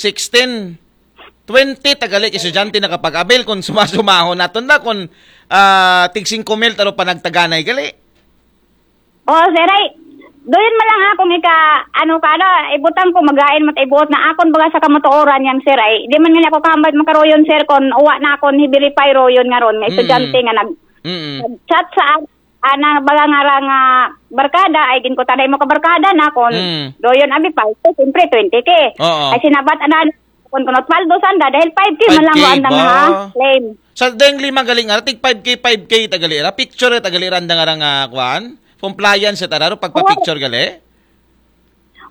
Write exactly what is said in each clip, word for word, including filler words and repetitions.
sixteen, twenty ta gali ka estudyante nakapag-avail kon suma-sumahon naton la kon, ah, tig singko mil ta ro panagtaganay gali. Oh, sir, ay, doon man lang akong ika, ano ka, ano, ibutang ko, magain mo, ibuot na akon baga sa kamatuoran yang, sir, ay, di man nga ako kahambal makaroyon, sir, kon uwa na akon, i-verify royon nga ron, nga estudyante nga nag, Mm. nag-chat sa, ana, baga nga ra nga barkada, ay, gin ko tanay mo ka barkada na kon, Mm. doyon, abi pa, ito, siyempre, twenty K. Oo. Ay, sinabat, ana, kon kunot paldo sanda, dahil five K man lang Five K ang andang ba? Ha, claim. Sa deng lima gali nga ra, tig five K, five K ta gali ra, picture ta gali ra, andang nga ra nga, kuan, compliance ta ra, ro pagpa-picture gali.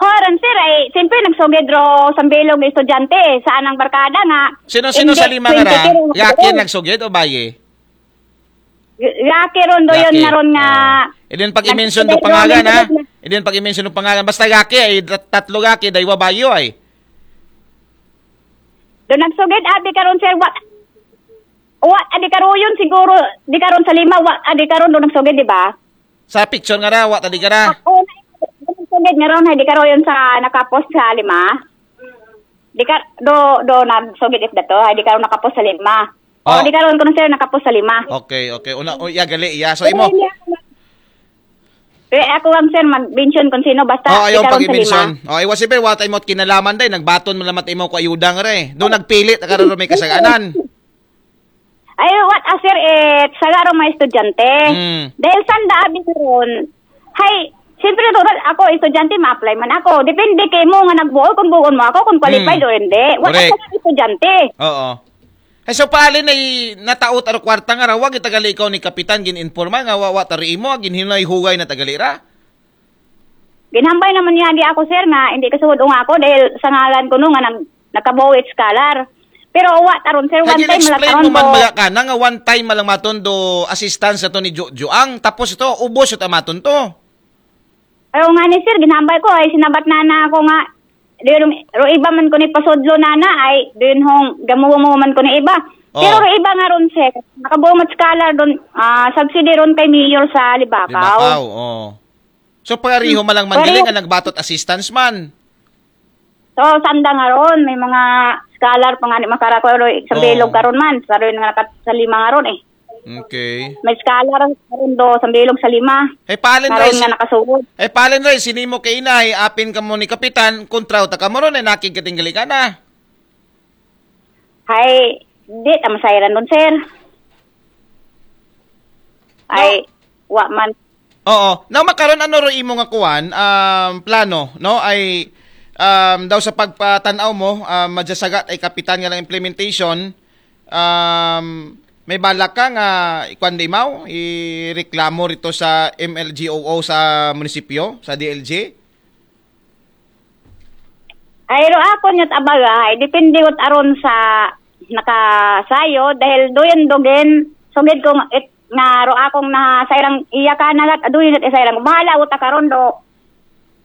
Horan, sir, ay, siyempre, nagsugid ro sa bilog nga estudyante, sa anang barkada nga. Sino-sino sa Hindi, lima nga ra? twenty K ro. Yaki nagsugid o bayi? Yaki ron, doyon Yaki. nga ron nga. Ah. Idin pag-i-mention Nag- do pangalan, ha? Idin pag-i-mention do pangalan. Basta yaki, ay, tat-, tatlo yaki, daywa bayo, ay. Do nagsugid, abi karon, sir, wa, wa, adi karoyon siguro, di karon sa lima, wa, adi karon do nagsugid, di ba? Sa picture nga ra, wa ta di ka ra. Oo, nagsugid nga ron, di karoyon sa nakapost sa lima. Di ka, do, do nagsugid it dato, di karon nakapost sa lima. Oh. O, di karon kuno, sir, nakapost sa lima. Okay, okay. Una, oh, iya gali, iya. So, imo. Eh, ako lang, sir, mag-mention kung sino, basta Oh, ayaw di karon sa pag-i-mention. lima. Oh, iwa siyempre, wa ta imo kinalaman day, nagbaton man lang mat imo ko ayuda nga ra, eh. Do nagpili ta ka ra ro may kasaganan. Ay, what a, sir, eh, sa garo mga estudyante. Mm. Dahil sanda abi karon, hay, siyempre, doon ako, estudyante, ma-apply man ako. Depende kay mo nga nagbuol kung buon mo ako, kung qualified Mm. o hindi. What a, Correct. Sir, estudyante. Oo. Ay, so, paalin ay nataot aro kwarta nga ra, wa gid ta gali ikaw ni Kapitan, gin-informa nga wa, wa ta ro imo, ginhinay-hugay na ta gali ra. Ginhambay naman niya di ako, sir, nga hindi kasuod nga ako dahil sa ngalan ko no nga nag, nakabawi it scholar. Pero wa ta ron, sir, Kaya one time lang gin-explain karon mo man do. Baga ka na nga one time man lang maton do assistance na to ni Jo-, Joang, tapos ito, ubos ito maton to. Ayaw nga ni, sir, ginhambay ko, ay sinabat na na ako nga, di ro, ro iba man ko ni pasudlo na na, ay, di hong gamuwa mo man ko ni iba. Oh. Pero ro iba nga ron, sir, nakabuo mo scholar doon, ah, subsidy ron kay Mayor sa Libacao. Libacao, oh. So, pariho man lang man Pariho. Gali nga nagbatot assistance man. So, sanda nga ron, may mga scholar pa nga ni makarakoy ro, sa Oh. bilog karon man, sa ron nga nakat-, sa lima nga ron eh. Okay. May scholar karon do, sa bilog sa lima. Eh, paalin Nga ron Ray, nga nakasuod. eh, paalin Ray, sinimo kay inay, apin ka mo ni Kapitan, kontra ta ka mo ron, eh, nakig katinggali ka na. Hay, di, ta masayran doon, sir. Ay, wa man. Oo. Now, makaron ano ro imo nga kuan, um, plano, no? Ay, um, daw sa pagpatanaw mo, um, madyasagat ay Kapitan nga lang implementation, um, may balak ka nga ikuan di maw, ireklamo rito sa M L G O O sa munisipyo, sa D L G? Ay, ro ako niya't abaga, ay, depende ko aron sa nakasayo, dahil doon dogen, sugid ko nga, it, nga ro akong nasayrang iya ka nagat, aduyon at isayrang, bahala ko ta karon do.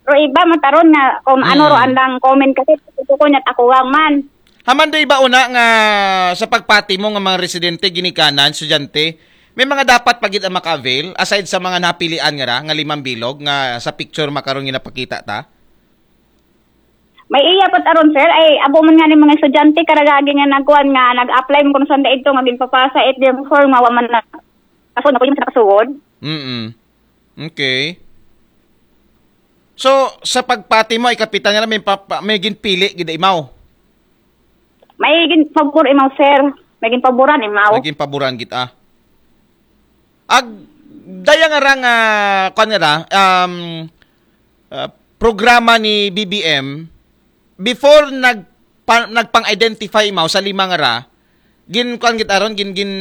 Ro iba mataron nga, kung ano ro Mm. andang comment kasi, ito ko niya't ako lang man. Haman do iba una nga sa pagpati mo nga mga residente, ginikanan, estudyante, may mga dapat pa gid ang maka-avail aside sa mga napilian nga ra, nga limang bilog nga sa picture makaron nga napakita ta? May iya pat aron, sir, ay abo man nga ni mga estudyante karagagi nga nagkuan nga nag-apply mo kuno sanda ito nga ginpapasa it yung form nga wa man na kaso na ko yung sa nakasuod. Mm. Okay. So, sa pagpati mo, ay Kapitan nga may, pa, pa, may ginpili gid imaw. May gin pabor imaw, sir. May gin paboran imaw. Naging paboran gid ah. Ag daya nga ra nga kuan nga ra, um, uh, programa ni B B M before nag pa, nagpang-identify imaw sa lima nga ra, gin kuan gid aron, gin gin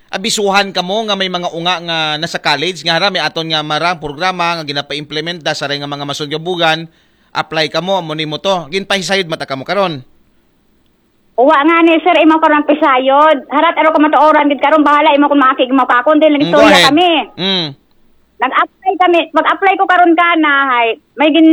abisuhan kamo nga may mga unga nga nasa college nga hara may aton nga marang programa nga ginapa-implement da sa ray nga mga masud nga bugan, apply kamo, amo nimo to. Ginpahisayod mata kamo karon. Uwa nga ni, sir, imo karon pisayod. Harat aro ko matuoran gid karon, bahala imo kung makig mo ka akon, din Mm, go nag-istorya ahead. Kami. Mm. Nag-apply kami, mag-apply ko karon ka na, hay. May gin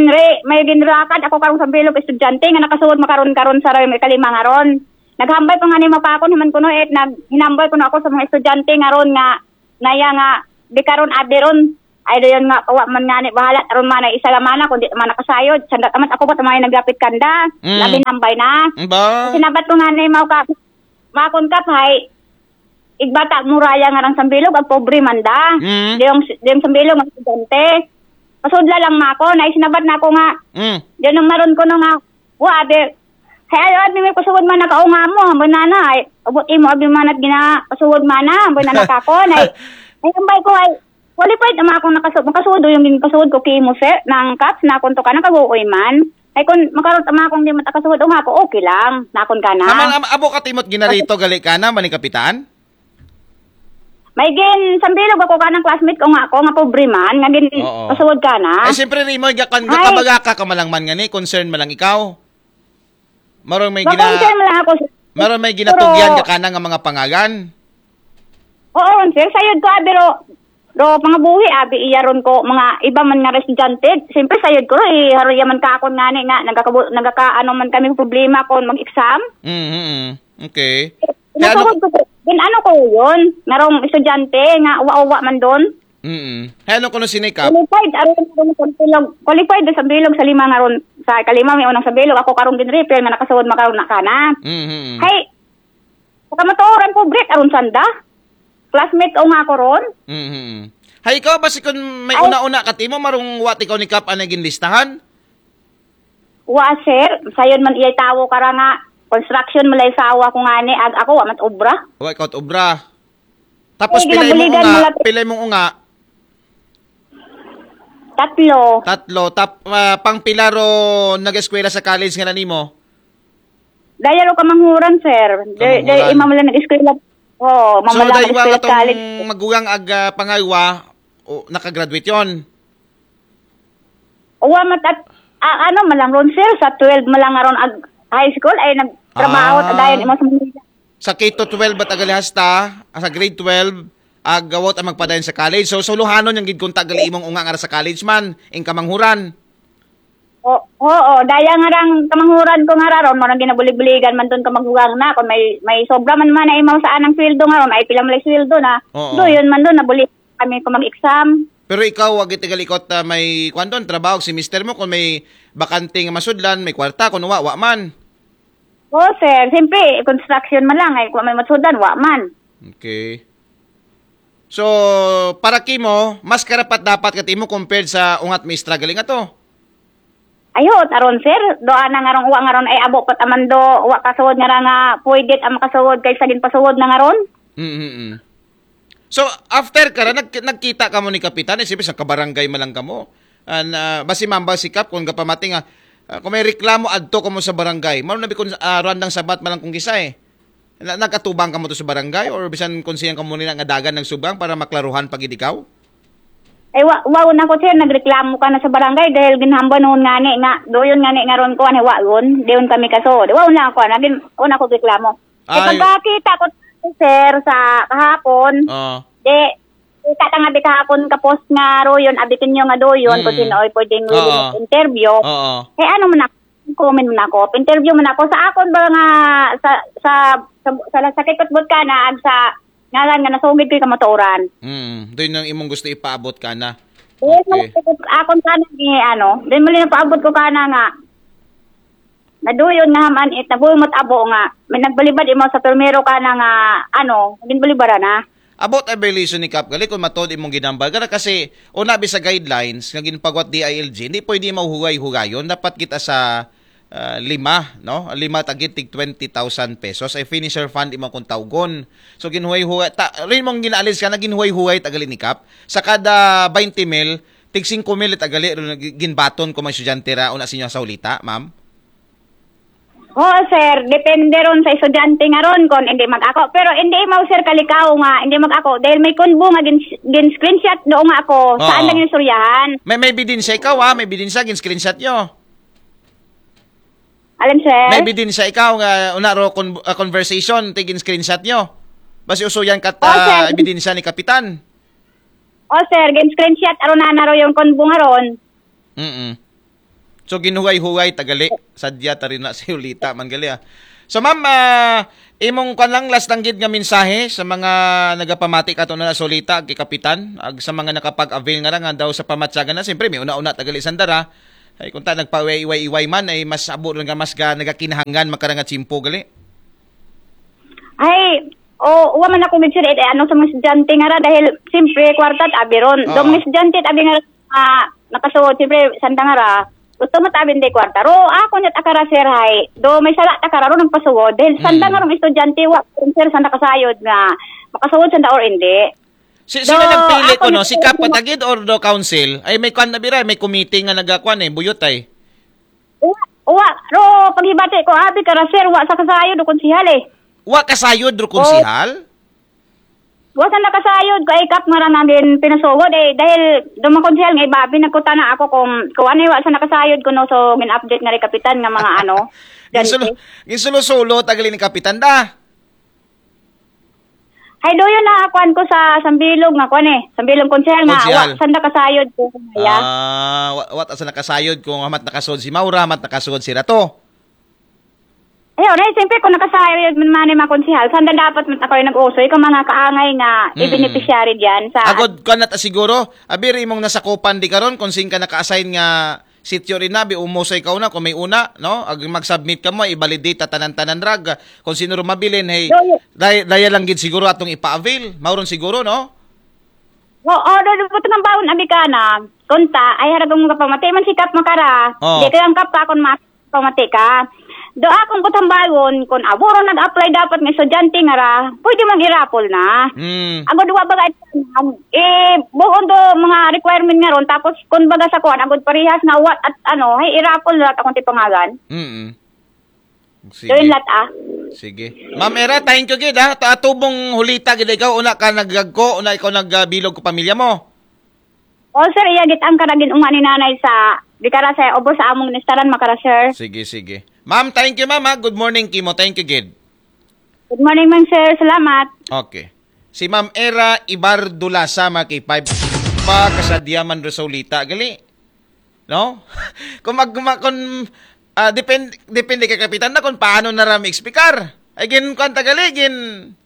re, may ginrakad ako karon sa bilog estudyante nga nakasuod makaron karon sa ray may kalima nga ron. Naghambay pa nga ni mapakon himan kuno it nag hinambay kuno ako sa mga estudyante nga ron nga naya nga di karon abi ron. Ay, dayon nga, wa man nga ni bahala, aron man ay isa lamana, kundi man nakasayod. Sanda tamat ako pa tamay naglapit kanda. Mm. Labi nambay na. Ba? Sinabat ko nga ni, mao ka, makon ka, hay, igbata muraya nga rang sambilog, ag pobre man da. Mm. Di yung, di yung sambilog, ang estudyante. Pasudla lang mako, na isinabat na ako nga. Mm. Di nang maron ko no nga, wa, abi, hay, ayo, abi, may pasugod man nakaunga mo, ang banana, ay, abot imo, abi, manat gina, pasugod man na, ang banana ka ko, na, ay, ambay ko, ay, qualified naman akong nakasu-, makasudo yung ginpasuod ko kimo, sir, ng kaps na akong to ka, nakaguoy man. Ay, kung makarot naman akong di matakasuod, o nga ako, okay lang, nakon ka na. Naman, am-, abo ka timot ginarito, gali ka na, mani kapitan? May gin, sambilog ako ka ng classmate ko nga ako, nga pobre man, nga gin, Oo. Pasuod ka na. Ay, siyempre, Rimo, gakan, Ay. Gakabaga ka, ka malang man nga ni, concern malang ikaw. Marong may gina-, Makoncern lang ako, sir. Marong may ginatugyan Pero ka ka na nga mga pangalan. Oo, sir, sayod ko, abi, ro, ro, pangabuhi, abi, iyaron ko, mga iba man nga estudyante. Siyempre, sayod ko, eh, haro yaman ka ako nga ni, nga, nagkakabu-, nagkaka-, ano man kami problema kung mag-exam. Mm-hmm. Okay. Kaya ano Nakakuha ko, din ano ko yun, narong estudyante, nga uwa-uwa man doon. Mm. Hay, ano kuno sinikap? Qualified, aron sa bilog. Qualified sa bilog sa lima nga ron. Sa kalima, may unang sa bilog. Ako karong ginrefer nga nakasawad makaroon na ka na. Mm-hmm. Hay, sa kamatuoran, pobre, aron sanda. Classmate ko nga ako ron. Mm-hmm. Hay, ikaw ba si kun may Ay. Una-una ka timo, marong wa ti ikaw ni Kap ang naging listahan? Wa, sir. Sayon man iyay tawo kara nga. Construction malay sawa ko nga ni. Ag ako, wa mat obra. Wa ikaw at obra. Tapos Ay, pila imong ginabuligan unga? Mo lang. Pila imong unga? Tatlo. Tatlo. Tap-, ah, pang pila ro nag-eskwela sa college nga nanimo? Daya ro kamanghuran, sir. Day, day, Kamanghuran. Imam lang nag-eskwela. Oo, So, mamala dahil nag-eskwela sa atong college. Magugang ag, ah, pangaywa, o, nakagraduate yon? Uwa mat at, ah, ano, malang ron, sir, sa twelve malang aron ag high school, ay nagtrabaho, Ah. Dayon imo sa Manila. Sa K to twelve at agali hasta, ah, sa grade twelve, ag awat ang magpadayon sa college. So, suluhanon yung gid kunta gali imong unga nga sa college man, ing kamanghuran. O, oo, daya nga rang kamanghuran ko nga raron, mo nang ginabulig-buligan man doon ka magugang na, kung may, may sobra man man na imaw sa anang sweldo nga ron, ay pilang may sweldo na. Oo. Do, yun man doon, nabulig kami ko mag-exam. Pero ikaw, wag iti galikot, ah, may kwan doon, trabaho, si mister mo, kung may bakante nga masudlan, may kwarta, kung wa, wa man. Oo, sir. Siyempre, construction man lang. Ay, kung may masudlan, wa man. Okay. So, para kimo, mas karapat dapat kat imo compared sa ungat may struggling ato? Ayot, aron, sir. Do, ana nga rong, wa nga ron, ay abo pat amando, wa kasud nga ra nga, pwede ang makasud, kay sa ginpasud na nga ron. Mm-hmm. So, after ka ra, nag-, nagkita ka mo ni Kapitan, eh, siyempre, sa kabarangay man lang kamo. Ah, na, basi mambal sikap, kung gapamating, ah, ah, kung may reklamo, adto ka mo sa barangay. Maro na bikon, ah, randang sabat man lang kung gisa, eh. Na, nagkatubang ka mo to sa barangay, or bisan kung siyang ka mo nila nga dagan nagsubang para maklaruhan pag ikaw? Eh, wa, wa, una ko, sir, nagreklamo ka na sa barangay dahil ginhamba noon nga ni, nga, doon nga ni, nga ron ko, ano, wa, ron, doon kami kaso. Di, wa, una ako, nagin, una ko reklamo. Eh, Ay. Pagkakita ko, sir, sa kahapon, Oo. Di, kita ka nga di kahapon ka post nga ro yun, abitin nyo nga do yun, kung Mm. Sino ay pwedeng Oo. Interview. Oo. Eh, ano man ako, comment man ako, interview man ako, sa akon ba nga, sa, sa, sa, sa, sa kay Kutbot ka na, ag sa ngalan nga nasugid ko yung kamatuoran. Mm, doon ang imong gusto ipaabot ka na. Doon Okay. Akon ka na ni, ano, doon mali na paabot ko ka na nga, naduyon nga haman it, nabulmot abo nga, may nagbalibad imo sa primero ka na nga, ano, naging balibara na. About evaluation ni Kap, gali kung matod imong ginambal. Gana kasi, una bi sa guidelines nga ginpagwat D I L G, hindi pwede mauhugay-hugayon. Dapat kita sa, ah, lima, no? Lima tagit tig twenty thousand pesos. Ay finisher fund imo kung tawgon. So, ginhuway-huway. Ta, rin mong ginaalis ka na, ginhuway-huway tagali ni Kap. Sa kada twenty mil, tig singko mil tagali, rin ginbaton ko mga estudyante ra, una sa inyo sa ulita, ma'am? Oo, sir. Depende ron sa estudyante nga ron kung hindi mag-ako. Pero hindi mo, sir, kalikaw nga hindi mag-ako. Dahil may kunbo nga gin, gin screenshot doon nga ako. Oo. Saan lang yung istoryahan? May, may ebidensya ikaw, ah. May ebidensya, gin screenshot nyo. Alam, sir? May ebidensya ikaw nga una ro con, ah, conversation, tig gin screenshot nyo. Basi uso yan kat, Oo, sir. Ah, ebidensya ni Kapitan. Oo, sir. Gin screenshot, aron na naro yung kunbo nga ron. Mm-mm. So, ginhuway-huway, tagali. Sadya, tari na sa ulita, man gali, ah. So, ma'am, ah, imong kwan lang, last lang gid nga mensahe sa mga nagapamati kato na Solita, kay Kapitan, ag sa mga nakapag-avail nga ra nga daw sa pamatyagan na, siyempre, may una-una tagali sandara. Ay, kung ta nagpaiway-iway man, ay mas abo lang nga mas ga, nagakinahanglan makarang nga tiyempo gali. Ay, o, wa man ako gid, sir, eh, ano sa mga estudyante nga ra, dahil, siyempre, kwarta at abiron. Do, Oo. Mga estudyante at abi nga ra, ah, nakasuod, siyempre, sanda nga ra, gusto mo tabin di kwarta. Ro, ako niya takara, sir, hay. Do, may sala takara, ro, nagpasuod. Dahil sanda Mm. nga rong estudyante, wa, sir, sanda kasayod nga, makasuod sanda or hindi. Si, Do, sino nagpili ako ko, no? ni- Si Kap Patagid or do council? Ay, may kwan na bira, may committee nga nagakwan eh, buyot ay. Wa, wa, ro, paghibati ko, abi ka ra, sir, wa sa kasayod o konsihal eh. Wa kasayod ro Oh. konsihal? Wa sa nakasayod ko ay Kap nga ra namin pinasugod eh. Dahil dumakonsihal nga ibabi, nagkutana ako kung, kung ano yung wa sa nakasayod ko, no, so gin-update nga rin kapitan nga mga ano. Ginsulu, Dante. Ginsulu-sulo, tagali ni Kapitan da. Hay, doon na kuan ko sa Sambilog nga kuan eh. Sambilog konsihal nga, Konsihal. Wa, sanda kasayod ko. Ya. Ah, wa, wa sa nakasayod kung hamat nakasud si Maura, hamat nakasud si Rato. Ayun, eh, siyempre, kung nakasayod man man yung mga konsihal, sanda dapat man ako yung nag-usoy kung mga kaangay nga Mm. i-beneficiary diyan sa Agod, kuan na ta siguro, abir imong nasakupan di karon kung saan ka naka-assign nga sityo rin na, bi umusoy ka una, kung may una, no? Ag mag-submit ka mo, i-validate ta tanan-tanan rag, kung sino ro mabilin, hey, Yo, yo. day-, daya lang gid siguro atong ipa-avail, mauron siguro, no? Oo, do, do, buto ng baon, abi ka na. Kunta, ay harag ang mga pamati, man sikap makara. Oh. Di ka ang kap ka kung ma-, pamati ka. Do akong kutambayon, kung aburo nag-apply dapat ng estudyante nga ra, pwede mang irapol na. Mm. Agod wa baga, eh, buon do mga requirement nga ron, tapos kung baga sa kuan, agod parehas nga what at ano, ay irapol na akong tipangagan. Mm. Sige. Doon lat, ah. Sige. Ma'am Era, thank you gid, ha. Ta-, atubong hulita gid ikaw, una ka naggagko, una ikaw nagbilog ko pamilya mo. Oh, sir, iya gid ang karagin uma ni nanay sa, di kara sa, obo sa among nistaran, makara, sir. Sige, sige. Ma'am, thank you, ma'am, ha. Good morning, Kimo. Thank you gid. Good morning, ma'am, sir. Salamat. Okay. Si Ma'am Era Ibar Dulasa, mga K five. Pa, kasadya man ro sa hulita. Gali. No? Kung mag-, ma-, kung, ah, depend-, depende kay Kapitan na kung paano na ra ma-explicar. Ay, gin-, kwan ta gali, gin-,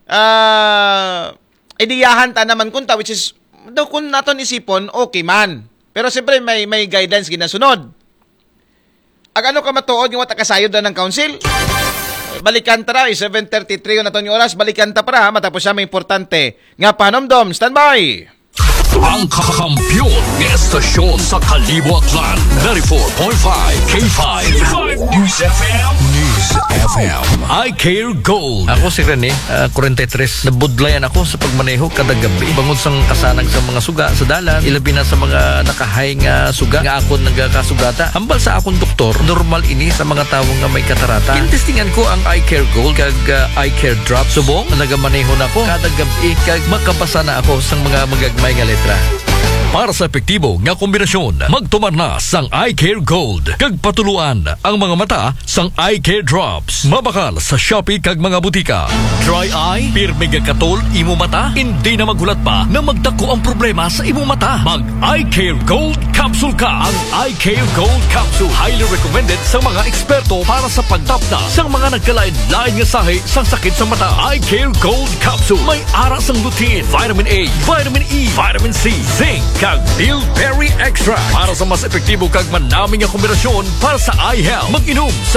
ah, ideyahan ta naman kunta, which is, do kung naton isipon, okay man. Pero siyempre, may, may guidelines ginasunod. Ag ano ka matuod nga wa ta kasayod na ng council? Balikan ta ra, eh, seven thirty-three na to yung oras. Balikan ta para, ha, matapos siya may importante nga panomdom. Standby! Ang kakampiyon ng estasyon sa Kalibo Aklan, ninety-four point five K five News F M. News F M. I Care Gold. Ako si Rene, ah, forty-three. Nabudlayan ako sa pagmaneho kada gabi. Bangod sang kasanag sa mga suga sa dalan, ilabi na sa mga nakahay nga suga nga akon nagakasugata. Hambal sa akong doktor, normal ini sa mga tawo nga may katarata. Gintestingan ko ang Eye Care Gold kag, ah, Eye Care Drop. Subong, nagamaneho na ko kada gabi kag makabasa na ako sang mga magagmay nga letra. Para sa epektibo nga kombinasyon, magtumar na sang Eye Care Gold kag patuluan ang mga mata sang Eye Care Drops. Mabakal sa Shopee kag mga butika. Dry eye, pirmi nga katol imo mata, hindi na maghulat pa na magdako ang problema sa imo mata. Mag Eye Care Gold Capsule ka. Ang Eye Care Gold Capsule, highly recommended sa mga eksperto para sa pagtapna sa mga nagkalain-lain nga sahi sa sakit sa mata. Eye Care Gold Capsule, may ara sang lutein, vitamin A, vitamin E, vitamin C, zinc, kag bilberry extract. Para sa mas epektibo kag manami nga kombinasyon para sa eye health, mag-inom sa